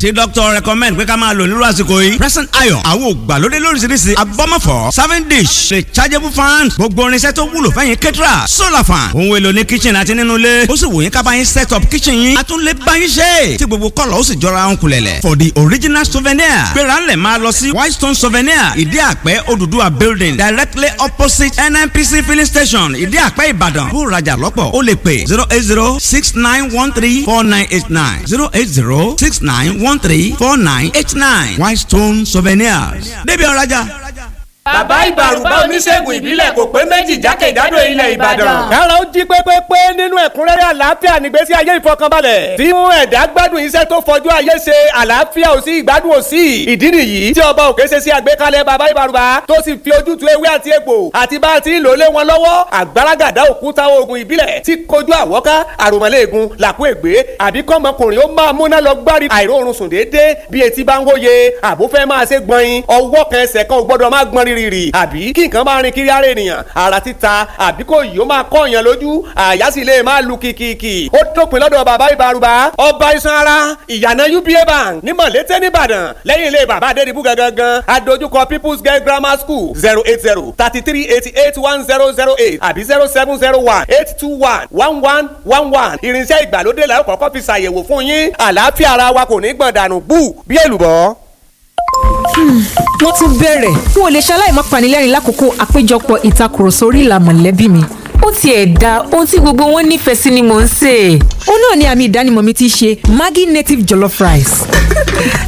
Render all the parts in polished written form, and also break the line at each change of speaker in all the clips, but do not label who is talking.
Tí doctor recommend pé ká máa lò nírú àsìkò yìí. Present iron àwọn ògbàlódé lóríṣiríṣi abọ́mọ̀fọ́ serving dish rechargeable fan gbogbo irinṣẹ́ tó wúlò fẹ́yìn kẹ́tìrà solar fan ohun èlò ní kitchen àti nínú ilé ó sì wò yín ká bá yín set up kitchen yín a tún lè bá yín ṣe tí gbogbo kọ́lọ̀ ó sì jọra ń kulẹ̀lẹ̀. For the original souvenir gbéra ńlẹ̀ máa lọ sí Whitestone Souvenir, Ìdí Àpẹ́, Odùduwà building, directly opposite NNPC filling station, Ìdí Àpẹ́, Ìbàdàn. Kó rajà lọ́pọ̀ ó lè pè 08069134989, 08069134989. Whitestone Souvenirs, débi ọ̀rajà.
Bàbá Ìbàrùbá, oníṣègùn ìbílẹ̀ kò pé méjì jákèjádò ilẹ̀ Ìbàdàn.
Kára ó jí pépépé nínú ẹ̀kúnrẹ́rẹ́ àlàáfíà nígbésí ayé ìfọkànbalẹ̀. Tí mú ẹ̀dá gbádùn iṣẹ́ tó fọjú ayé ṣe, àlàáfíà ò sí, ìgbádùn ò sí. Ìdí nìyí tí Ọba Òkè ṣe sí àgbékalẹ̀ Bàbá Ìbàrùbá tó sì fi ojútùú ewé àti egbò àti bá a ti ń lò lé wọn lọ́wọ́. Àgbàràgàdá òkúta oògùn ìbílẹ̀ tí kojú àwọ́ká, àròmọ̀lẹ́ẹ̀gùn, làkú ègbé àbí kọ́mọkùnrin ó máa múná lọ gbárí àìróorun sùn déédéé bí etí bá ń hóye, àbó fẹ́ máa ṣe gbọ̀nyin, ọwọ́ kan ẹsẹ̀ kan ò gbọ́dọ̀ máa gbọ́n rírì àbí kí nǹkan máa rin kiri ara ènìyàn, ara títa àbí kò yìí ó máa kọ́ èèyàn lójú, àyà sì lè máa lu kìkìkì. Ó dópin lọ́dọ̀ Bàbá Ìbàrùbá, ọba iṣan ara, ìyànà UBA Bank ní Mọ̀lété nìbàdàn, lẹ́yìn ilé Bàbá Adédìbú gangan, adójúkọ People's Girl Grammar School. 08033881008 àbí 07018211111. Irinṣẹ́ ìgbàlódé la ó kọ́kọ́ fi ṣàyẹ̀wò fún yín. Àlàáfíà ara wa kò ní gbọ̀n dànù bú bí èlùbọ́.
Wọ́n tún bẹ̀rẹ̀. N ò lè ṣaláì má panilẹ́rìn lákòókò àpéjọpọ̀ ìtakùrọ̀sọ orí ìlà mọ̀lẹ́bí mi. Ó tiẹ̀ da ohun tí gbogbo wọn nífẹ̀ẹ́ sí ni mò ń sè é. Ó náà ni àmì ìdánimọ̀ mi ti ṣe Maggi native jollof rice.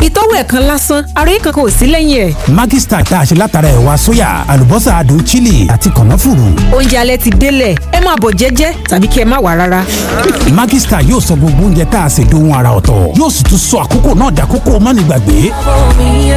Ìtọ́wò ẹ̀kan lásán, àròyé kankan ò sí lẹ́yìn ẹ̀.
Maggi Star tá a ṣe látara ẹ̀wà sóyà, àlùbọ́sà adùn chili àti kànáfùrù.
Oúnjẹ alẹ́ ti délẹ̀, ẹ máa bọ̀ jẹ́jẹ́ tàbí kí ẹ má wá rárá.
Maggi Star yóò sọ gbogbo oúnjẹ tá a ṣe dohun ara ọ̀tọ̀, yóò sì tún sọ àkókò náà dàkókò mánigbàgbé.
Me